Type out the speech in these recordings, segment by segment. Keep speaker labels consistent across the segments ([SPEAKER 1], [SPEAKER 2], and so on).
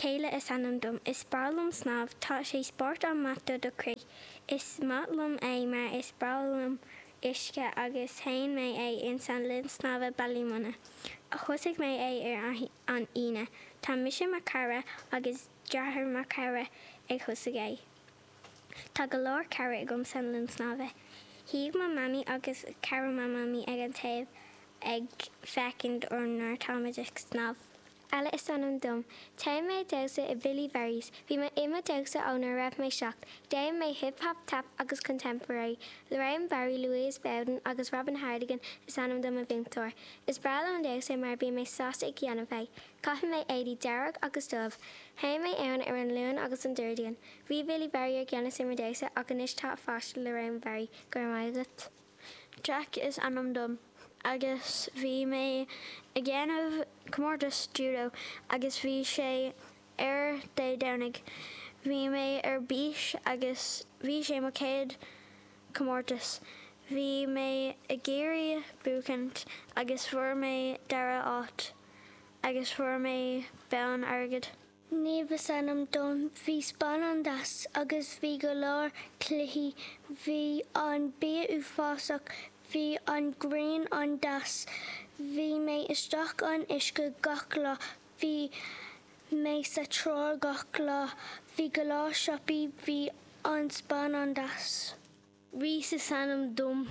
[SPEAKER 1] Kayla is ainm dom. Is breá liom snámh. Tá sé spórt an-maith do do chroí. Is maith liom é mar is breá liom uisce agus shéan mé é ins an linn snámha Ballymona. Thosaigh mé é ar an Aoine. Tá mise mo chara agus deartháir mo chara ag thosaigh é. Tá go leor cara agam san linn snámha. Shuigh mo mamaí agus cara mo mamaí ag an taobh ag féachaint orainn nuair atáimid ag snámh.
[SPEAKER 2] Ella is ainm dom. Téim mé ag damhsa i Billy Barry's. Bhí mé i mo damhsa ó nuair a raibh mé 7. Déan mé hip hop, tap agus contemporary. Lorraine Barry, Louise Bowden agus Robin Hartigan is ainm do mo mhúinteoir. Is breá liom an damhsa mar bíonn mé sásta ag dhéanamh é. Caitheann mé éadaí dearg agus dubh. Théim mé ann ar an Luan agus an Déardaoin. Bhí Billy Barry ar gceannas ar mo damhsa ach anois tá a pháiste Lorraine Barry. Go raibh maith agat.
[SPEAKER 3] Jack is ainm dom agus bhí mé ag dhéanamh comórtas judo agus bhí sé ar Dé Domhnaigh. Bhí mé ar bís agus bhí sé mo chéad comórtas. Bhí mé ag iarraidh buachaint agus fuair mé dara áit agus fuair mé bonn airgid.
[SPEAKER 4] Niamh is ainm dom. Bhí Spáinn an-deas agus bhí go leor cluichí. Bhí an bia uafásach. Bhí an ghrian an-deas. Bhí mé isteach an uisce gach lá. Bhí mé sa trá gach lá. Bhí go leor siopaí. Bhí an Spáinn an-deas.
[SPEAKER 5] Rhys is ainm dom.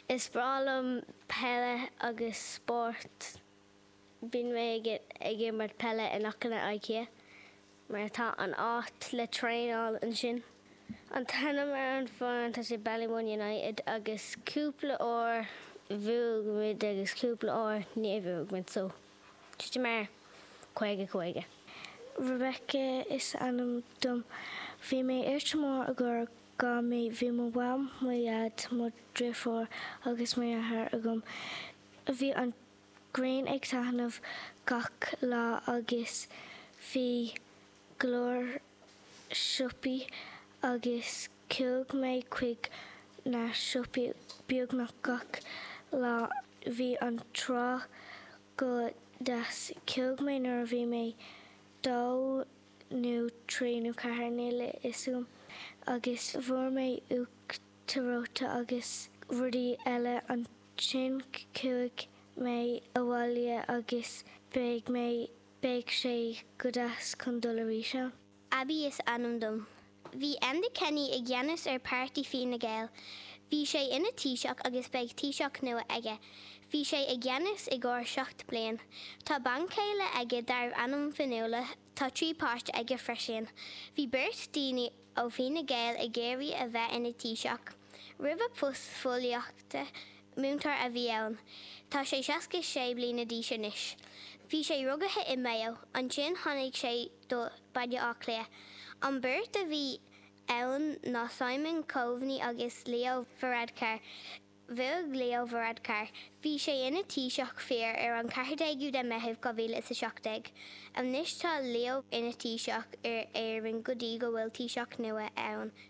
[SPEAKER 5] Is breá liom peile agus spórt. Bíonn mé ag imirt peile in aice le IKEA mar tá an áit le traenáil ansin. An t-ainm ar an foireann tá sé Ballymun United agus cúpla uair bhuaigh muid agus cúpla uair níor bhuaigh muid so tá sé mar 50 50.
[SPEAKER 4] Rebecca is ainm dom. Bhí mé ar Tramore i gcomhair 2 mí. Bhí mo mham, mo dhaid, mo dhriofúr agus mo dheartháir agam. Bhí an ghrian ag taitneamh gach lá agus bhí go leor siopaí agus chuaigh mé chuig na siopaí beagnach gach lá. Bhí an trá go deas. Chuaigh mé nuair a bhí mé dó nó trí nó ceathair, níl a fhios agam, agus fuair mé uachtar reoite agus rudaí eile Ansin chuaigh mé abhaile agus beidh mé, beidh sé go deas chun dul arís ann.
[SPEAKER 2] Abby is ainm dom. Bhí Enda Kenny i gceannas ar páirtí Fine Gael. Bhí sé ina Taoiseach agus beidh Taoiseach nua aige. Bhí sé i gceannas i gcomhair 7 bliain. Tá banchéile aige darbh ainm Fionnuala. Tá 3 páiste aige freisin. Bhí beirt daoine ó Fine Gael ag iarraidh a bheith ina Taoiseach. Roimh a post fóillíochta, múinteoir a bhí ann. Tá sé 66 bliana d'aois anois. Bhí sé rugaithe i Mayo, ansin tháinig sé do Baile Átha Cliath. An beirt a bhí ann ná Simon Coveney agus Leo Varadkar. Bhuaigh Leo Varadkar. Bhí sé ina Taoiseach fir ar an 14ú de Meitheamh 2017. Anois tá Leo ina Taoiseach ar Éirinn go dtí go bhfuil Taoiseach nua ann.